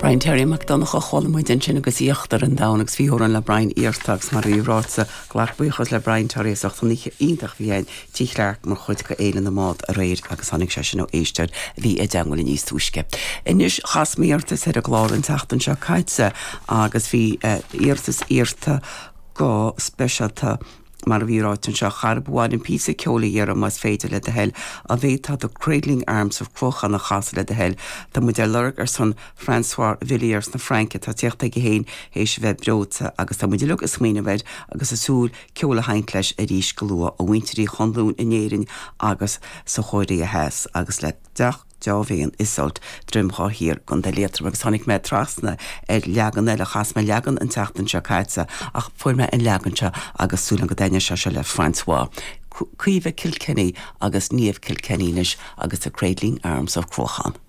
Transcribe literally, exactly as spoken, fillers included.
Brian Terry Mac Donncha chuala muid ansin agus íochtar an domhain agus bhí amhrán le Brian iarrtha agus mar bhí ráite glac buíochas le Brian Terry as ucht an oíche iontach bhí ann Tigh Chlarke mar chuid de Fhéile na mBád aréir agus tháinig sé sin ó éisteoir a bhí i dteagmháil níos túisce. Anois chas mé iarratas ar an gclár an tseachtain seo caite agus bhí uh, iarratas iarrtha go speisialta mar a bhí ráite anseo charb bháin an píosa ceoil a iarraidh más féidir le do thoil an bhféadfá The Cradling Arms of Cruachan a chasadh le do thoil Tá muid ar lorg ar son François Villiers na Fraince tá teacht aige féin théis a bheith breoite agus tá muid uilig ag smaoineamh air agus ag súil ceol a sheinnt leis arís go luath ó mhuintir Uí Chonluain in Éirinn agus sa Chóiré Theas agus le deach deá-mhéin Isolt Droim Dhá Thiar Contae Liatroim agus tháinig mé trasna ar leagan eile chas mé leagan an tseachtain seo caite ach fuair mé an leagan seo agus súil go dtaitneoidh sé seo le François. Caoimhe Kilkenny agus Niamh Kilkenny anois agus The Cradling Arms of Cruachan.